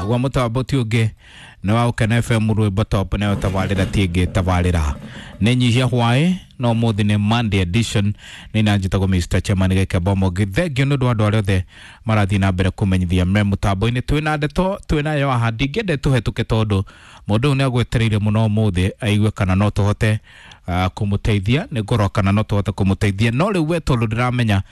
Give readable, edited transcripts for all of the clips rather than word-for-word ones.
Naguo mũtambo ti ũngĩ nĩ wa Ũkena FM rwĩmbo top nayo tabarĩra ti ĩngĩ tabarĩra nĩ nyihia hwaĩ no mũthĩ nĩ Monday edition nĩ na njĩtagwo Mr. Chairman Gĩkembo Mũngĩ. Thengiũ nĩ ũndũ wa andũ arĩa othe marathiĩ na mbere kũmenyithia me mũtambo-inĩ. Twĩna ndeto twĩnayo haha, ndingĩenda tũhetũke tondũ mũndũ ũyũ nĩ agwetereire mũno ũmũthĩ aigue kana no tũhote kũmũteithia. Nĩ ngorwo kana no tũhote kũmũteithia, no rĩu we tondũ ndĩramenya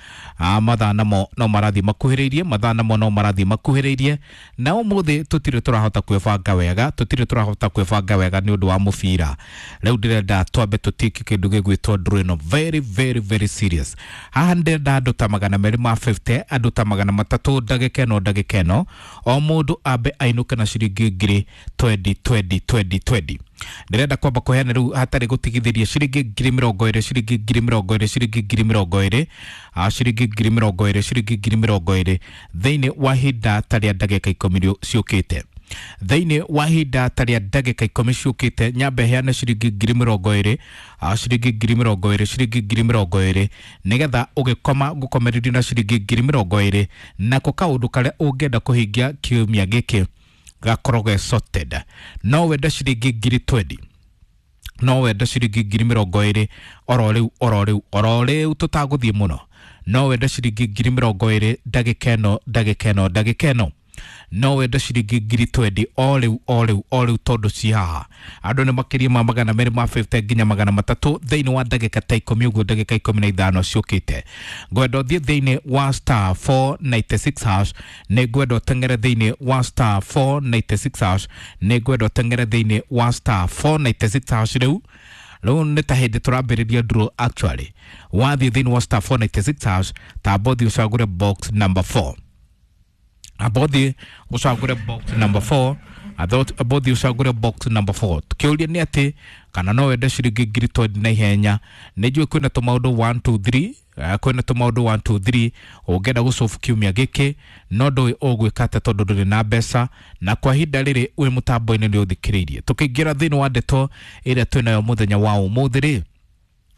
mathaa namo no marathiĩ makuhĩrĩirie, mathaa namo no marathiĩ makuhĩrĩirie, na ũmũthĩ tũtirĩ tũrahota kwĩbanga wega, tũtirĩ tũrahota kwĩbanga wega nĩ ũndũ wa mũbira. Rĩu ndĩrenda twambe tũtiki kĩndũ gĩgwĩtwo draw ĩno very very very serious. Haha ndĩrenda andũ ta 250, andũ ta 300, ndagĩka ĩno ndagĩka ĩno o mũndũ ambe ainũke na ciringi ngiri 20 20 20 20. Ndĩrenda kwamba kũheana rĩu hatarĩ gũtigithĩria ciringi 20,000, ciringi 20,000, ciringi 20,000, ciringi 20,000, ciringi 20,000 thĩinĩ wa ihinda ta rĩa ndagĩka 10 ciũkĩte. Thĩinĩ wa ihinda ta rĩa ndagĩka 10 ciũkĩte nyambe heane ciringi 20,000, ciringi 20,000, ciringi 20,000, nĩgetha ũgĩkoma ngũkomererie na ciringi 20,000, nako kaũndũ karĩa ũngĩenda kũhingia kiumia gĩkĩ gakorwo ge sorted. No wende ciringi 20,000, no wende ciringi 20,000 oro rĩu oro rĩu oro rĩu tũtagũthiĩ mũno. No wende ciringi 20,000 ndagĩka ĩno ndagĩka ĩno ndagĩka ĩno. No wende ciringi 20,000 o rĩu o rĩu o rĩu tondũ ci haha andũ nĩ makĩria ma 250 nginya 300 thĩinĩ wa ndagĩka ta 10 ũguo, ndagĩka 15 ciũkĩte. Ngwenda ũthiĩ thĩinĩ wa star 496 hash, nĩ ngwenda ũteng'ere thĩinĩ wa star 496 hash, nĩ ngwenda ũteng'ere thĩinĩ wa star 496 hash. Rĩu rĩu nĩ ta hĩndĩ tũrambĩrĩria draw actually. Wathiĩ thĩinĩ wa star 496 hash, tamba ũthiĩ ũcagũre box number 4, abothi ucagure box number 4, abothi ucagure box number 4. Kĩũria nĩ atĩ kana no wende ciringi 20,000 na ihenya. Nĩ njũĩ kwĩna tũmaũndũ 1 2 3, kwĩna tũmaũndũ 1 2 3 ũngĩenda gũcobu kiumia gĩkĩ, no ndũĩ ũgwĩka atĩa tondũ ndũrĩ na mbeca, na kwa ihinda rĩrĩ wĩ mũtambo-inĩ nĩ ũthikĩrĩirie. Tũkĩingĩra thĩinĩ wa ndeto ĩrĩa twĩnayo mũthenya wa ũmũthĩ rĩ,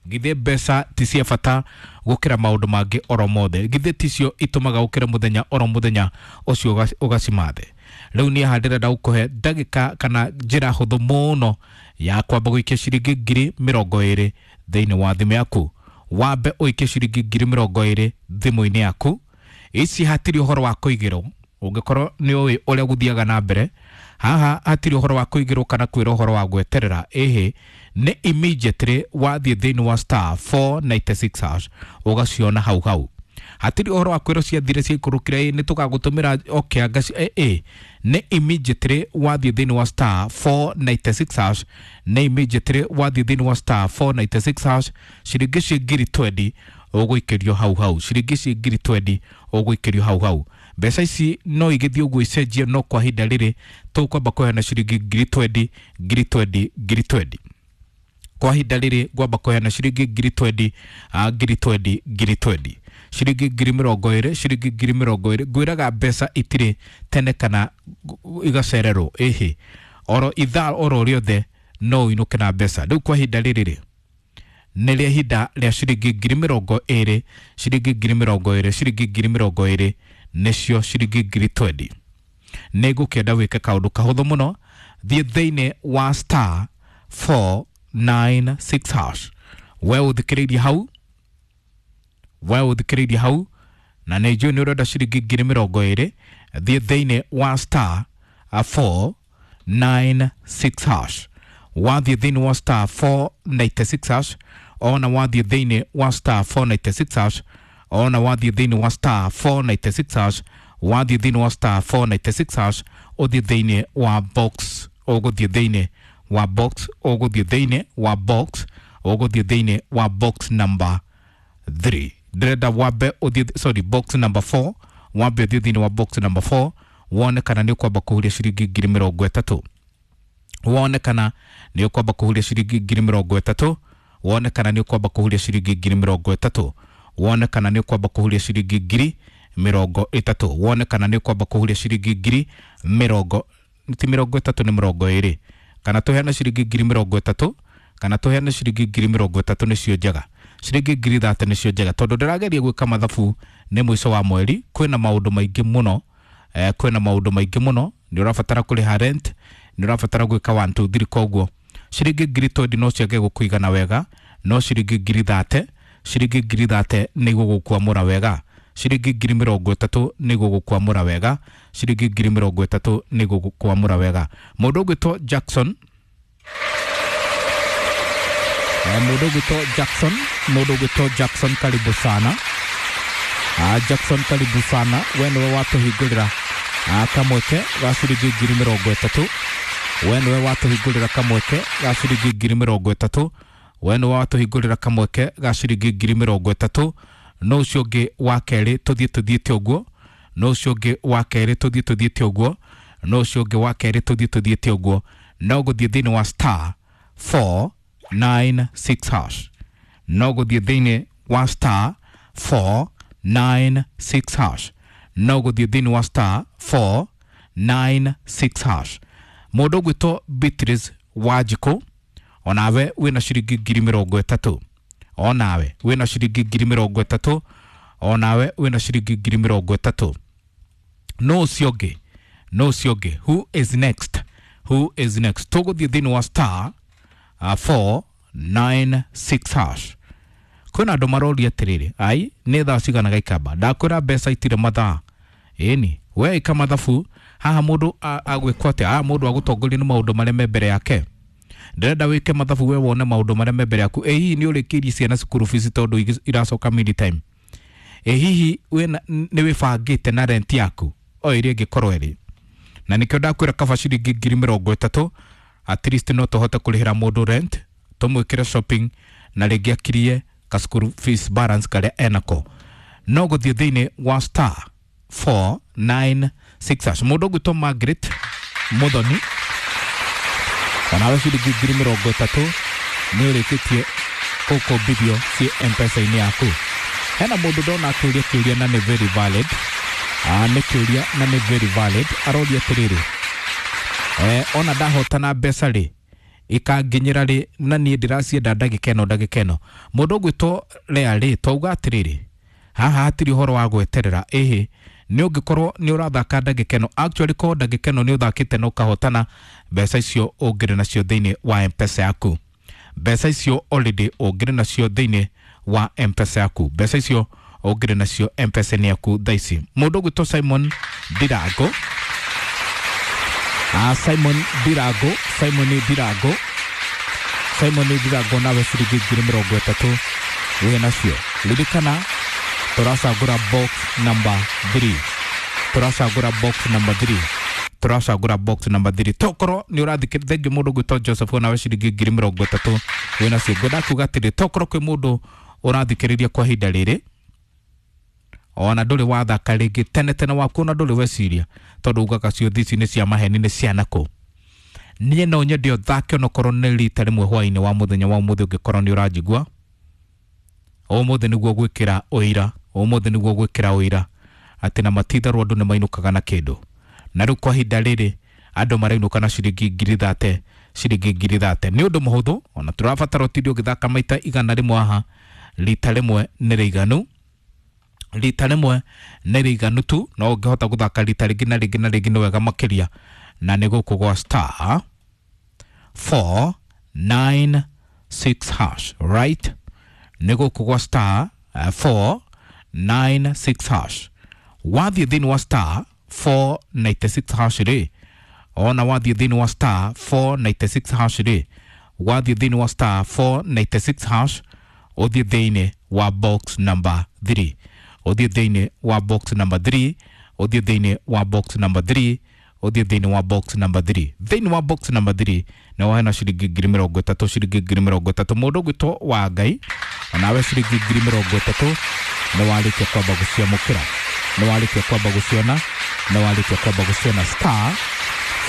githĩ mbeca ti cia bata gũkĩra maũndũ mangĩ oro mothe? Githĩ ticio itũmaga ũkĩre mũthenya oro mũthenya ũcio ũgacimathe? Rĩu niĩ haha ndĩrenda gũkũhe ndagĩka kana njĩra hũthũ mũno ya kwamba gũikia ciringi 20,000 thĩinĩ wa thimũ yaku. Wambe ũikie ciringi 20,000 thimũ-inĩ yaku. Ici hatirĩ ũhoro wa kũigĩrwo, ũngĩkorwo nĩ ũĩ ũrĩa gũthiaga na mbere haha, hatirĩ ũhoro wa kũigĩrwo kana kwĩrwo ũhoro wa gweterera. Ĩhĩ, nĩ immediately wathiĩ thĩinĩ wa star 496 hash ũgaciona hau hau. Hatirĩ ũhoro wa kwĩrwo ciathire ciaikũrũkire, ĩ nĩ tũgagũtũmĩra okay, ĩ nĩ immediately wathiĩ thĩinĩ wa star 496 hash, nĩ immediately wathiĩ thĩinĩ wa star 496 hash, ciringi ci 20,000 ũgũikĩrio hau hau, ciringi ci 20,000 ũgũikĩrio hau hau. Mbeca ici no igĩthiĩ ũguo icenjie, no kwa ihinda rĩrĩ tũkwamba kũheana ciringi 20,000, 20,000, 20,000. Kwa ihinda rĩrĩ ngwamba kũheana ciringi 20,000, 20,000, 20,000, ciringi 20,000, ciringi 20,000. Ngwĩraga mbeca itirĩ tene kana igacererwo, ĩhĩ, oro ithaa oro rĩothe no ũinũke na mbeca. Rĩu kwa ihinda rĩrĩ rĩ nĩ rĩa ihinda rĩa ciringi 20,000, ciringi 20,000, ciringi 20,000, nĩcio ciringi 20,000. Nĩ ngũkĩenda wĩke kaũndũ kahũthũ mũno, thiĩ thĩinĩ wa star 496 hash. We ũthikĩrĩirie hau, we ũthikĩrĩirie hau, na nĩ njũĩ nĩ ũrenda ciringi 20,000, thiĩ thĩinĩ wa star 496 hash. Wathiĩ thĩinĩ wa star 496 hash, ona wathiĩ thĩinĩ wa star 496 hash, ona wathiĩ thĩinĩ wa star 496 hash, wathiĩ thĩinĩ wa star 496 hash, ũthiĩ thĩinĩ wa box, ũgũthiĩ thĩinĩ wa box, ũgũthiĩ thĩinĩ wa box, ũgũthiĩ thĩinĩ wa box number 3. Ndĩrenda wambe ũthiĩ, sorry, box number 4, wambe ũthiĩ thĩinĩ wa box number 4 wone kana nĩ ũkwamba kũhuria ciringi 30,000, wone kana nĩ ũkwamba kũhuria ciringi 30,000, wone kana nĩ ũkwamba kũhuria ciringi 30,000, wone kana nĩ ũkwamba kũhuria ciringi 30,000, wone kana nĩ ũkwamba kũhuria ciringi ngiri mĩrongo, ti 30, nĩ 20, kana tũheane ciringi 30,000, kana tũheane ciringi 30,000 nĩcio njega, ciringi 30,000 nĩcio njega, tondũ ndĩrageria gwĩka mathabu nĩ mũico wa mweri, kwĩna maũndũ maingĩ mũno, kwĩna maũndũ maingĩ mũno. Nĩ ũrabatara kũrĩha rent, nĩ ũrabatara gwĩka 1 2 3. Koguo ciringi 20,000 no ciage gũkũigana wega, no ciringi 30,000, ciringi 30,000 nĩ igũgũkwamũra wega, ciringi 30,000 nĩ igũgũkwamũra wega, ciringi 30,000 nĩ igũgũkwamũra wega. Mũndũ ũgwĩtwo Jackson, mũndũ ũgwĩtwo Jackson, mũndũ ũgwĩtwo Jackson, karibu sana. Jackson, karibu sana, we nĩwe watũhingũrĩra kamweke ga ciringi 30,000. We nĩwe watũhingũrĩra kamweke ga ciringi 30,000. We nĩwe watũhingũrĩra kamweke ga ciringi 30,000. No ũcio ũngĩ wa kerĩ tũthiĩ tũthiĩte ũguo, no ũcio ũngĩ wa kerĩ tũthiĩ tũthiĩte ũguo, no ũcio ũngĩ wa kerĩ tũthiĩ tũthiĩte ũguo. No gũthiĩ thĩinĩ wa star 496 hash, no gũthiĩ thĩinĩ wa star 496 hash, no gũthiĩ thĩinĩ wa star 496 hash. Mũndũ ũgwĩtwo Beatrice Wanjikũ, onawe wĩna ciringi 30,000, onawe wĩna ciringi 30,000, onawe wĩna ciringi 30,000. No ũcio ũngĩ, no ũcio ũngĩ, who is next, who is next? Tũgũthiĩ thĩinĩ wa star 496 hash. Kwĩna andũ maroria atĩrĩrĩ, ai nĩ thaa cigana gaikamba? Ndakwĩra mbeca itirĩ mathaa. Ĩni we ĩka mathabu haha, mũndũ agwĩkwo atĩa haha? Mũndũ agũtongoria nĩ maũndũ marĩa me mbere yake. Ndĩrenda wĩke mathabu we wone maũndũ marĩa me mbere yaku. Ĩ hihi nĩ ũrĩkĩirie ciana cukuru fees tondũ iracoka mid time? Ĩ hihi wĩna nĩ wĩbangĩte na rent yaku o ĩrĩa ĩngĩkorwo ĩrĩ? Na nĩkĩo ndakwĩra kaba ciringi 30,000, at least no tũhote kũrĩhĩra mũndũ rent, tũmwĩkĩre shopping, na rĩngĩ akirie ka school fees balance karĩa enako. No gũthiĩ thĩinĩ wa star 496 hash. Mũndũ ũgwĩtwo Margaret Muthoni, onawe ciringi 30,000 nĩ ũrĩkĩtie gũkũmbithio ciĩ M-Pesa-inĩ yaku. Hena mũndũ ndona akĩũria kĩũria na nĩ very valid. Nĩ kĩũria na nĩ very valid. Aroria atĩrĩrĩ, ona ndahotana mbeca rĩ, ikanginyĩra rĩ? Na niĩ ndĩracienda ndagĩka ĩno, ndagĩka ĩno. Mũndũ ũgwĩtwo Lea rĩ, twauga atĩrĩrĩ, haha hatirĩ ũhoro wa gweterera. Ĩhĩ, nĩ ũngĩkorwo nĩ ũrathaka ndagĩka ĩno, actually korwo ndagĩka ĩno nĩ ũthakĩte na ũkahotana, mbeca icio ũngĩrĩ nacio thĩinĩ wa M-Pesa yaku. Mbeca icio already ũngĩrĩ nacio thĩinĩ wa M-Pesa yaku, mbeca icio ũngĩrĩ nacio M-Pesa-inĩ yaku thaa ici. Mũndũ ũgwĩtwo Simon Ndirango, Simon Ndirango, Simon Ndirango, Simon Ndirango, nawe ciringi 30,000 wĩ nacio. Ririkana tũracagũra box number 3, tũracagũra box number 3, tũracagũra box number 3. Tokorwo nĩ ũrathikĩ thengi. Mũndũ ũgwĩtwo Joseph, nawe ciringi 30,000 wĩ nacio. Ngwenda kuga atĩrĩ, tokorwo kwĩ mũndũ ũrathikĩrĩria kwa ihinda rĩrĩ, ona ndũrĩ wathaka rĩngĩ tene tene waku, ona ndũrĩ weciria, tondũ ugaga ciũthi ici nĩ cia maheni, nĩ cia nakũ. Niĩ no nyende ũthake onokorwo nĩ rita rĩmwe hwaĩ-inĩ wa mũthenya wa ũmũthĩ. Ũngĩkorwo nĩ ũranjigua ũmũthĩ, nĩguo gwĩkĩra ũira, ũmũthĩ nĩguo gwĩkĩra ũira atĩ na matitharwo andũ nĩ mainũkaga na kĩndũ. Na rĩu kwa ihinda rĩrĩ andũ marainũka na ciringi 30,000, ciringi 30,000. Nĩ ũndũ mũhũthũ, ona tũrabatara ũtinde ũgĩthaka maita 100 haha. Rita rĩmwe nĩ rĩiganu, rita rĩmwe nĩ rĩiganu tu. No ũngĩhota gũthaka rita rĩngĩ na rĩngĩ na rĩngĩ, nĩ wega makĩria. Na nĩ gũkũ gwa star 496 hash, right? Nĩ gũkũ gwa star 496 hash. Wathiĩ thĩinĩ wa star 496 hash rĩ, ona wathiĩ thĩinĩ wa star 496 hash rĩ, wathiĩ thĩinĩ wa star 496 hash, ũthiĩ thĩinĩ wa box number 3, ũthiĩ thĩinĩ wa box number 3, ũthiĩ thĩinĩ wa box number 3, ũthiĩ thĩinĩ wa box number 3. Thĩinĩ wa box number 3 nĩ wahena ciringi 30,000, ciringi 30,000. Mũndũ ũgwĩtwo wa Ngai, onawe ciringi 30,000 nĩ warĩkia kwamba gũciamũkĩra, nĩ warĩkia kwamba gũciona, nĩ warĩkia kwamba gũciona. Star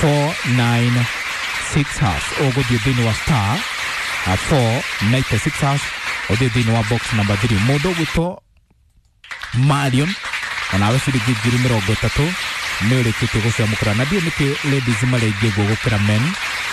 496 hash, ũgũthiĩ thĩinĩ wa star 496 hash, ũthiĩ thĩinĩ wa box number 3. Mũndũ ũgwĩtwo Marion, onawe ciringi 30,000 nĩ ũrĩkĩtie gũciamũkĩra. Na ndiũ nĩkĩ ladies marĩ aingĩ ũguo gũkĩra men.